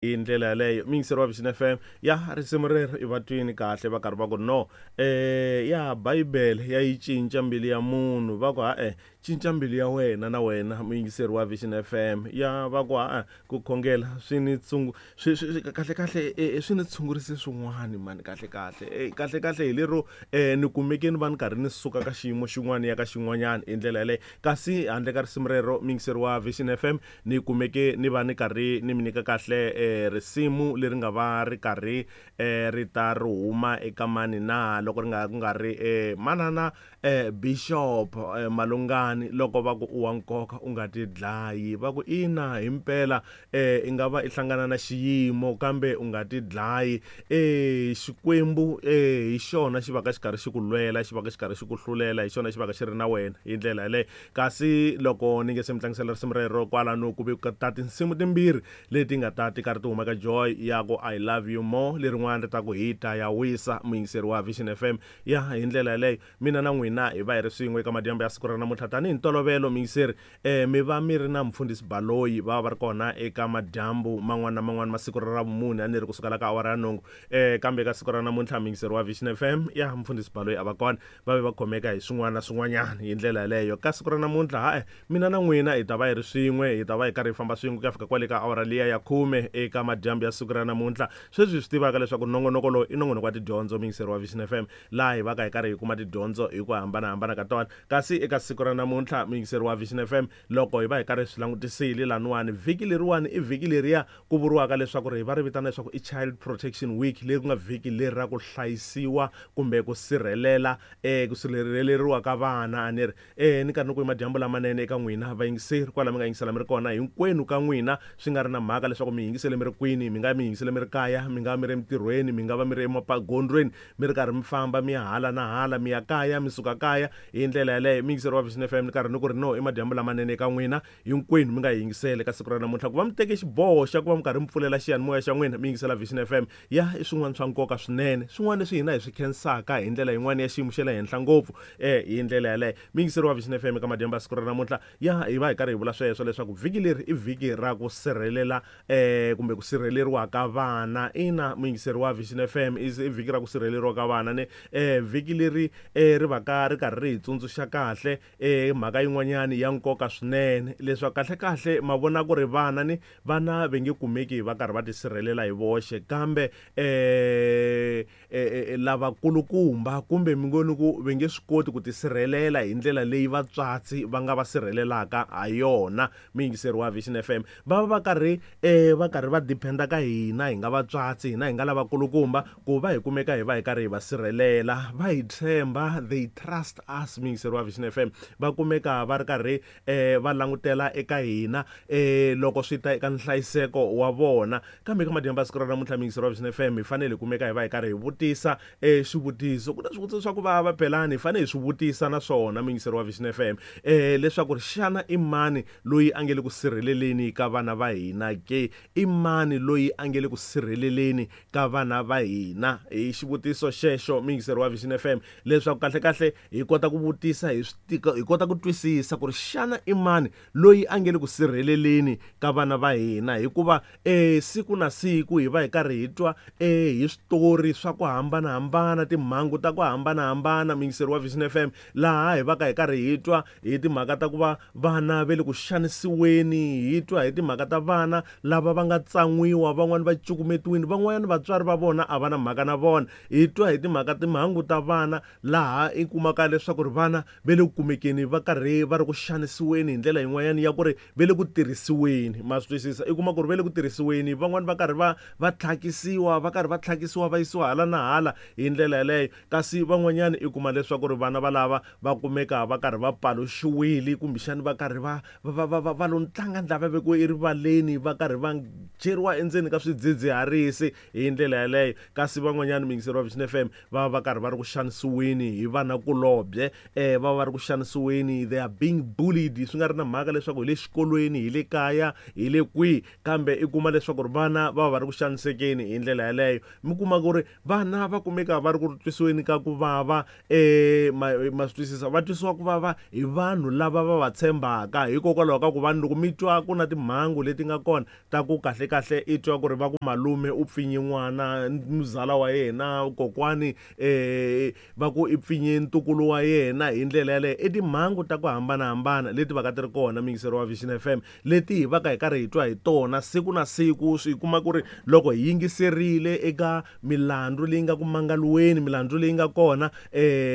Hi ndlela yaleyo miyingiseri wa Vision FM ya risimu rero i va twini kahle va karhi va ku no ya Bibele ya yi cinca mbilu ya munhu va ku ha-e cinca mbilu ya wena na wena muyingiseri wa Vision FM ya va ku ha-e ku khongela swi ni tsungu swi swi kahle kahle swi ni tshungurise swin'wana mani kahle kahle kahle kahle hi lero ni kumeke ni va ni karhi ni suka ka xiyimo xin'wana ya ka xin'wanyana hi ndlela yaleyo kasi handle ka risimu rero muyingiseri wa Vision FM Ni kumeke ni va ni karhi ni mi nyika kahle eh, risimu leri nga va ri karhi eh, ri ta ri huma eka mani na loko ri nga ku nga ri eh, manana eh, Bishop eh, Malungani loko va ku u wa nkoka u nga ti dlayi va ku ina himpela eh, i nga va i hlangana na xiyimo kambe u nga ti dlayi eh, Xikwembu eh, hi xona xi va ka xi karhi xi ku lwela xi va ka xi karhi xi ku hlulela hi xona xi va ka xi ri na wena hi ndlela yaleyo. Kasi loko ni nge se mi tlangisela risimu rero kwalano ku ve ku ta tinsimu timbirhi leti nga ta ti karhi ti huma ka Joy ya ku I love you more lerin'wana ri ta ku hi ta ya wisa muyingiseri wa Vision FM ya hi ndlela yaleyo mina na n'wina hi va hi ri swin'we eka madyambu ya siku ra namuntlha tanihi ntolovelo muyingiseri mi va mi ri na mfundhisi Baloyi va va va ri kona eka madyambu man'wana na man'wana ma siku ra Ravumune a ni ri kusukela ka awara ya nhungu kambe eka siku ra namuntlha muyingiseri wa Vision FM ya mfundhisi Baloyi a va kona va ve va khomeka hi swin'wana na swin'wanyana hi ndlela yaleyo. Ka siku ra namuntlha, ha-e, mina na n'wina hi ta va hi ri swin'we, hi ta va hi karhi hi famba swin'we ku ya fika kwale ka awara liya ya khume eka madyambu ya siku ra namuntlha. Sweswi hi swi tivaka leswaku nongonoko lowu i nongonoko wa tidyondzo, muyingiseri wa Vision FM, laha hi vaka hi karhi hi kuma tidyondzo hi ku hambana-hambana ka tona. Kasi eka siku ra namuntlha, muyingiseri wa Vision FM, loko hi va hi karhi hi swi langutisile laniwani, vhiki leriwani i vhiki leriya ku vuriwaka leswaku ri va ri vitana leswaku i Child Protection Week, leri ku nga vhiki leri ra ku hlayisiwa kumbe ku sirhelela ku sirheleriwa ka vana. A ni ri ni karhi ni ku i madyambu lamanene eka n'wina vayingiseri kwala mi nga yingisela mi ri kona hinkwenu ka n'wina, swi nga ri na mhaka leswaku mi yingisele mi ri kwini, mi nga mi yingisele mi ri kaya, mi nga va mi ri emitirhweni, mi nga va mi ri emagondzweni mi ri karhi mi famba mi ya hala na hala, mi ya kaya mi suka kaya, hi ndlela yaleyo muyingiseri wa Vision FM ni karhi ni ku ri no i madyambu lamanene eka n'wina. Hinkwenu mi nga hi yingisela eka siku ra namuntlha. Ku va mi teke xiboho xa ku va mi karhi mi pfulela xiyanimoya xa n'wina mi yingisela Vision FM, ya i swin'wana swa nkoka swinene, swin'wana leswi hina hi swi khensaka hi ndlela yin'wana ya xiyimo xa le henhla ngopfu. E, hi ndlela yaleyo. Muyingiseri wa Vision FM eka madyambu ya siku ra namuntlha, ya hi va hi karhi hi vula sweswo leswaku vhiki leri i vhiki ra ku sirhelela e, kumbe ku sirheleriwa ka vana. Ina, muyingiseri wa Vision FM, i, i vhiki ra ku sirheleriwa ka vana ne e, vhiki leri e, ri va ka ri karhi ri hi tsundzuxa kahle E mhaka yin'wanyana ya nkoka swinene, leswaku kahle-kahle ma vona ku ri vana ni vana ve nge kumeki va karhi va tisirhelela hi voxe, kambe e, e, e lavakulukumba kumbe mi ngo ni ku ve nge swi koti ku tisirhelela hi ndlela leyi vatswatsi va nga va sirhelelaka ha yona. Muyingiseri wa Vision FM, va va va karhi e va karhi va depend-a ka hina hi nga vatswatsi, hina hi nga lavakulukumba ku va hi kumeka hi va hi karhi hi va sirhelela. Va hi tshemba, they trust us, muyingiseri wa Vision FM. Va kumeka va ri karhi va langutela eka hina loko swi ta eka nhlayiseko wa vona. Kambe eka madyambu ya siku ra namuntlha, muyingiseri wa Vision FM, hi fanele hi kumeka hi va hi karhi hi vutisa xivutiso. Ku na swivutiso swa ku vava phelani, hi fanele hi swi vutisa na swona, muyingiseri wa Vision FM, leswaku ri xana i mani loyi a nge le ku sirheleleni ka vana va hina ke? I mani loyi a nge le ku sirheleleni ka vana va hina? Hi xivutiso xexo, muyingiseri wa Vision FM, leswaku kahle-kahle hi kota ku vutisa, hi swi hi kota ku twisisa ku ri xana i mani loyi a nge le ku sirheleleni ka vana va hina, hikuva e siku na siku hi va hi karhi hi twa e hi switori swa ku hambana-hambana, timhangu ta ku hambana-hambana, muyingiseri wa Vision FM, laha hi vaka hi karhi hi twa hi timhaka ta ku va vana ve le ku xanisiweni, hi twa hi timhaka ta vana lava va nga tsan'wiwa, van'wana va cukumetiwile, van'wanyana vatswari va vona a va na mhaka na vona. Hi twa hi timhaka timhangu ta vana laha i kumaka leswaku ri vana ve le ku kumekeni va karhi va ri ku xanisiweni hi ndlela yin'wanyana ya ku ri ve le ku tirhisiweni. Ma swi twisisa? I kuma ku ri ve le ku tirhisiweni, van'wani va karhi va va tlhakisiwa, va karhi va tlhakisiwa va yisiwa hala na hala hi ndlela yaleyo. Kasi van'wanyana i kuma leswaku ri vana valava va kumeka va karhi va paluxiwile, kumbexani va karhi va va va va va lo tlanga ndlava vekiwe erivaleni, va karhi va cheriwa endzeni ka swidzidziharisi hi ndlela yaleyo. Kasi van'wanyana muyingiseri wa Vision FM va va va karhi va ri ku xanisiweni hi vanakulobye, va va va ri ku xanisiweni xanisiweni, they are being bullied, swi nga ri na mhaka leswaku hi le xikolweni, hi le kaya, hi le kwihi, kambe i kuma leswaku ri vana va va ri ku xanisekeni hi ndlela yaleyo. Mi kuma ku ri vana va kumeka va ri ku twisiweni ka ku vava, ma swi twisisa, va twisiwa ku vava hi vanhu lava va va tshembaka, hikokwalaho ka ku vanhu loko mi twa ku na timhangu leti nga kona ta ku kahle kahle i twa ku ri va ku malume u pfinye n'wana, muzala wa yena, kokwani va ku i pfinye ntukulu wa yena hi ndlela yaleyo. I timhangu ta ku hambanahambana leti va ka ti ri kona muyingiseri wa Vision FM, leti hi va ka hi karhi hi twa hi tona siku na siku. Swi kuma ku ri loko hi yingiserile eka milandzu leyi nga ku mangaliweni, milandzu leyi nga kona,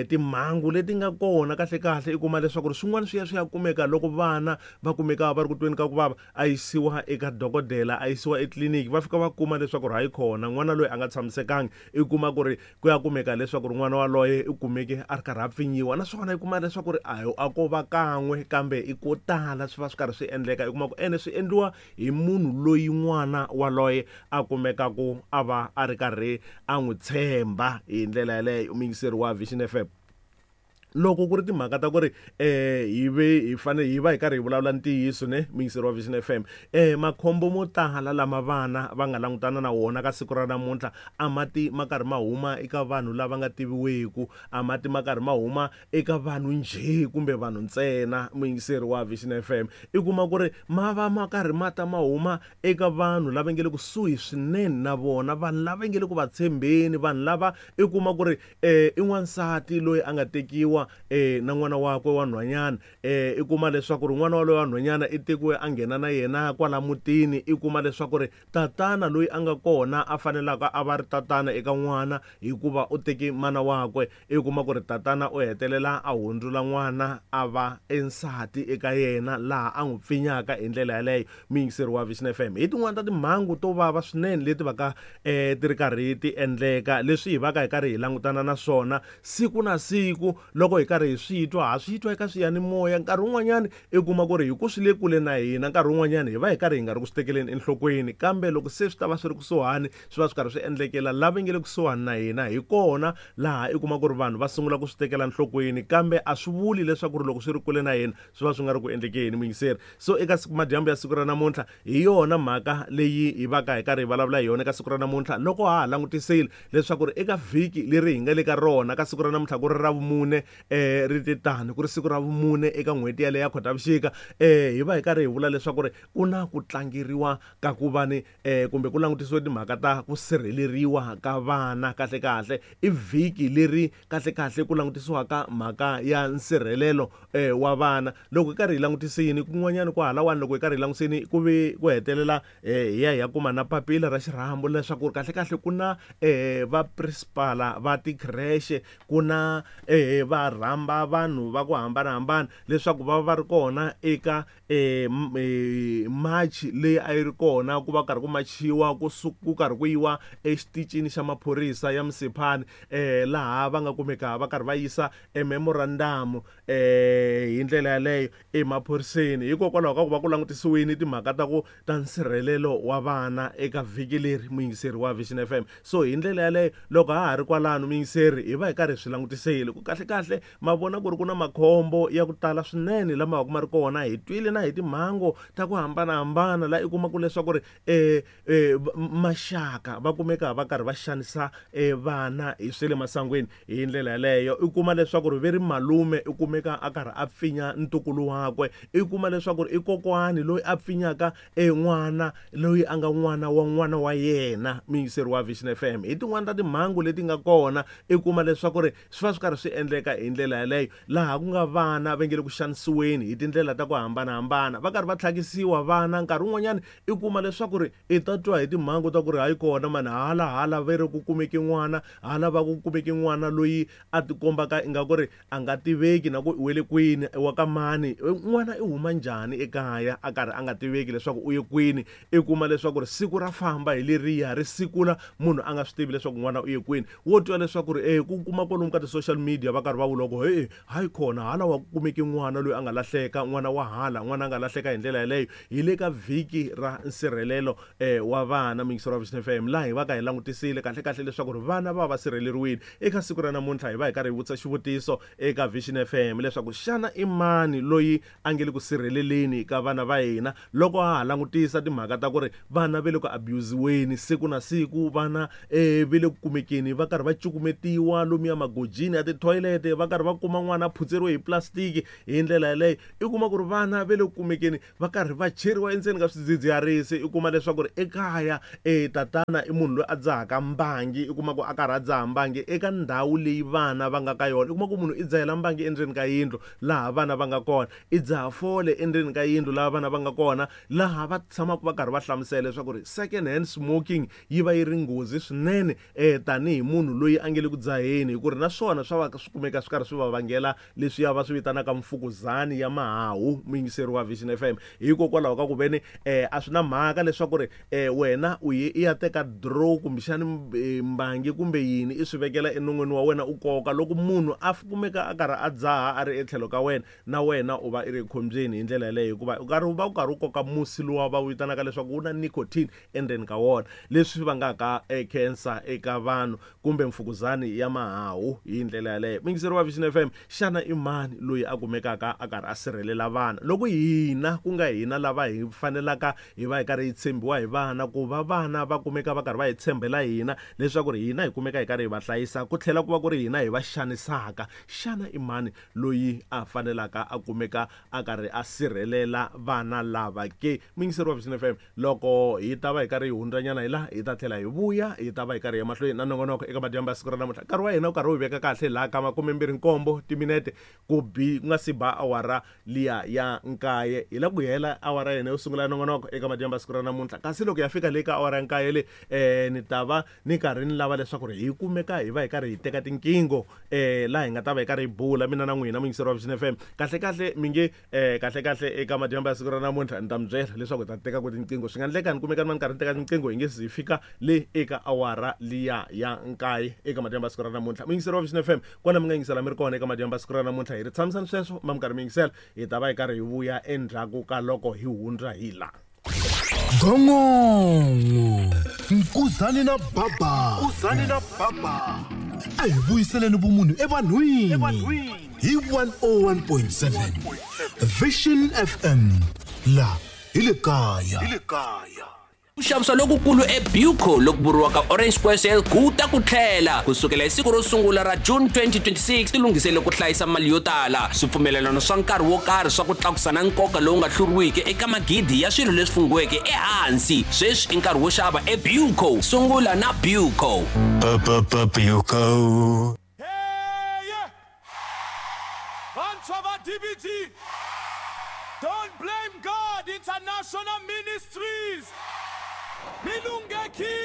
timhangu leti nga kona kahle kahle, i kuma leswaku ri swin'wana swi ya swi ya kumeka loko vana va kumeka va ri ku tweni ka ku vava, a yisiwa eka dokodela, a yisiwa etliliniki, va fika va kuma leswaku ri hayi khona n'wana loyi a nga tshamisekangi. I kuma ku ri ku ya kumeka leswaku ri n'wana waloye i kumeke a ri karhi a pfinyiwa, naswona i kuma leswaku ri a ko va kan'we kambe i ko tala swi va swi karhi swi endleka. I kuma ku ene swi endliwa hi munhu loyi n'wana waloye a kumekaku a va a ri karhi a n'wi tshemba hi ndlela yaleyo. Muyingiseri wa Vision FM, loko ku ri timhaka ta ku ri hi ve hi fanele hi va hi karhi hi vulavula ntiyiso ne, muyingiseri wa Vision FM, makhombo mo tala lama vana va nga langutana na wona ka siku ra namuntlha a ma ti ma karhi ma huma eka vanhu lava nga tiviweku, a ma ti ma karhi ma huma eka vanhu njhe kumbe vanhu ntsena. Muyingiseri wa Vision FM, i kuma ku ri ma va ma karhi ma ta ma huma eka vanhu lava nge le kusuhi swinene na vona, vanhu lava nge le ku va tshembeni, vanhu lava i kuma ku ri i n'wansati loyi a nga tekiwa na n'wana wakwe wa nhwanyana, i kuma leswaku ri n'wana waloye wa nhwanyana i tekiwe a nghena na yena kwala mutini. I kuma leswaku ri tatana loyi a nga kona a fanelaka a va ri tatana eka n'wana hikuva u teke mana wakwe, i kuma ku ri tatana u hetelela a hundzula n'wana a va ensati eka yena, laha a n'wi pfinyaka hi ndlela yaleyo. Muyingiseri wa Vision FM, hi tin'wana ta timhangu to vava swinene leti vaka ti ri karhi ti endleka, leswi hi vaka hi karhi hi langutana na swona siku na siku. Loko hi karhi hi swi twa, ha swi twa eka swiyanimoya, nkarhi wun'wanyani i kuma ku ri hi ku swi le kule na hina, nkarhi wun'wanyani hi va hi karhi hi nga ri ku swi tekeleni enhlokweni, kambe loko se swi ta va swi ri kusuhani, swi va swi karhi swi endlekela lava nge le kusuhani na hina, hi kona laha i kuma ku ri vanhu va sungula ku swi tekela enhlokweni. Kambe a swi vuli leswaku ri loko swi ri kule na hina swi va swi nga ri ku endlekeni, muyingiseri. So eka siku madyambu ya siku ra namuntlha, hi yona mhaka leyi hi vaka hi karhi hi vulavula hi yona eka siku ra namuntlha, loko ha ha langutisile leswaku ri eka vhiki leri hi nga le ka rona ka siku ra namuntlha ku ri ra vumune, ri te tani ku ri siku ra vumune eka n'hweti yaleyo ya Khotavuxika, hi va hi karhi hi vula leswaku ri ku na ku tlangeriwa ka ku va ni kumbe ku langutisiwe timhaka ta ku sirheleriwa ka vana. Kahle kahle i vhiki leri kahle kahle ku langutisiwaka mhaka ya nsirhelelo wa vana. Loko hi karhi hi langutisini kun'wanyana ku halawani, loko hi karhi hi langutisini ku ve ku hetelela hi ya hi ya kuma na papila ra xirhambo leswaku kahle kahle ku na va principal va tikhireshe, ku na va rhamba vanhu va ku hambanahambana leswaku va va ri kona eka march leyi a yi ri kona, ku va karhi ku machiwa ku karhi ku yiwa exitichini xa maphorisa ya Msiphani, laha va nga kumeka va karhi va yisa e memorandum hi ndlela yaleyo emaphoriseni, hikokwalaho ka ku va ku langutisiwile timhaka ta ku ta nsirhelelo wa vana eka vhiki leri, muyingiseri wa Vision FM. So hi ndlela yaleyo loko ha ha ri kwalano muyingiseri, hi va hi karhi hi swi langutisile ku kahle kahle ma vona ku ri ku na makhombo ya ku tala swinene lama va ku ma ri kona. Hi twile na hi timhangu ta ku hambanahambana laha i kuma ku leswaku ri maxaka va kumeka va karhi va xanisa vana hi swa le masangwini hi ndlela yaleyo. I kuma leswaku ri ve ri malume i kumeka a karhi a pfinya ntukulu wakwe, i kuma leswaku ri i kokwani loyi a pfinyaka n'wana loyi a nga n'wana wa n'wana wa yena. Muyingiseri wa Vision FM, hi tin'wani ta timhangu leti nga kona, i kuma leswaku ri swi va swi karhi swi endleka hi ndlela yaleyo, laha ku nga vana va nge le ku xanisiweni hi tindlela ta ku hambanahambana, va karhi va tlhakisiwa vana. Nkarhi wun'wanyani i kuma leswaku ri i ta twa hi timhangu ta ku ri hayi kona mani, hala hala ve ri ku kumeke n'wana, hala va ku kumeke n'wana loyi a tikombaka ingaku ri a nga tiveki na ku i wele kwini, i wa ka mani, n'wana i huma njhani ekaya a karhi a nga tiveki leswaku u ye kwini. I kuma leswaku ri siku ra famba hi leriya ri sikula, munhu a nga swi tivi leswaku n'wana u ye kwini. Wo twa leswaku ri ku kuma kwalomu ka ti-social media va karhi va vulavula ku he hayi khona hala wa kumeke n'wana loyi a nga lahleka n'wana wa hala n'wana a nga lahleka hi ndlela yaleyo. Hi le ka vhiki ra nsirhelelo wa vana muyingiseri wa Vision FM laha hi va ka hi langutisile kahle kahle leswaku ri vana va va sirheleriwile. Eka siku ra namuntlha hi va hi karhi hi vutisa xivutiso eka Vision FM leswaku xana i mani loyi a nge le ku sirheleleni ka vana va hina loko ha ha langutisa timhaka ta ku ri vana ve le ku abusiweni siku na siku, vana ve le ku kumekeni va karhi va cukumetiwa lomuya magojini ya tithoyilete, va karhi va kuma n'wana a phutseriwe hi plastic hi ndlela yaleyo. I kuma ku ri vana ve le ku kumekeni va karhi va cheriwa endzeni ka swidzidziharisi. I kuma leswaku ri ekaya tatana i munhu loyi a dzahaka mbangi, i kuma ku a karhi a dzaha mbangi eka ndhawu leyi vana va nga ka yona. I kuma ku munhu i dzahela mbangi endzeni ka yindlu laha vana va nga kona, i dzaha fole endzeni ka yindlu laha vana va nga kona, laha va tshamaka va karhi va hlamusela leswaku ri second hand smoking yi va yi ri nghozi swinene tanihi munhu loyi a nge le ku dzaheni, hi ku ri na swona swa va swi kumeka swi karhi swi va vangela leswiya va swi vitanaka mfukuzani ya mahahu. Muyingiseri wa Vision FM, hikokwalaho ka ku veni a swi na mhaka leswaku ri wena u ye i ya teka draw kumbexani mbangi kumbe yini i swi vekela enon'wini wa wena u koka, loko munhu a kumeka a karhi a dzaha a ri etlhelo ka wena, na wena u va i ri ekhombyeni hi ndlela yaleyo, hikuva u karhi u va u karhi u koka musi luwa va wu vitanaka leswaku wu na nicotine endzeni ka wona, leswi vangaka cancer eka vanhu kumbe mfukuzani ya mahahu hi ndlela yaleyo. Muyingiseri wa Vision FM, xana i mani loyi a kumekaka a karhi a sirhelela vana loko hina ku nga hina lava hi fanelaka hi va hi karhi hi tshembiwa hi vana, ku va vana va kumeka va karhi va hi tshembela hina leswaku ri hina hi kumeka hi karhi hi va hlayisa, ku tlhela ku va ku ri hina hi va xanisaka? Xana i mani loyi a fanelaka a kumeka a karhi a sirhelela vana lava ke? Muyingiseri wa Vision FM, loko hi ta va hi karhi hi hundzanyana hi laha, hi ta tlhela hi vuya, hi ta va hi karhi hi ya mahlweni na nongonoko eka madyambu ya siku ra namuntlha. Nkarhi wa hina wu karhi wu hi veka kahle laha ka 27 timinete ku bi ku nga si ba awara liya ya nkaye. Hi la ku hela awara ya hina yo sungula ya nongonoko eka madyambu ya siku ra namuntlha, kasi loko ya fika le ka awara ya nkaye le ni ta va ni karhi ni lava leswaku ri hi kumeka hi va hi karhi hi teka tinqingho laha hi nga ta va hi karhi hi bula mina na n'wina muyingiseri wa Vision FM. Kahle kahle mi nge kahle kahle eka madyambu ya siku ra namuntlha ni ta mi byela leswaku hi ta teka ku tinqingho, swi nga endleka ni kumeka ni va ni karhi ni teka tinqingho hi nge se hi fika le eka awara liya ya nkaye eka madyambu ya siku ra namuntlha. Muyingiseri wa Vision FM, kwala mi nga yingisela mi ri kona eka madyambu ya siku ra namuntlha, hi ri tshamisani sweswo ma mi karhi mi yingisela, hi ta va hi karhi hi vuya endzhaku ka loko hi hundza hi la. Gongongo Nkuzani na Baba, Nkuzani na Baba, a hi vuyiseleni vumunhu evanhwini hi 101.7 Vision FM, la hi le kaya. Ku xavisa lokukulu eBuco loku vuriwaka Orange Square Sale ku ta ku tlhela ku sukela hi siku ro sungula ra June 2026. Tilunghisele ku hlayisa mali yo tala, swipfumelelano swa nkarhi wo karhi swa ku tlakusa na nkoka lowu nga hluriwiki eka magidi ya swilo leswi funghiweke ehansi. Sweswi i nkarhi wo xava eBuco. Sungula na Buco. Buco. Vantshwa va DBT, Don't Blame God International Ministries, mi lunghekile!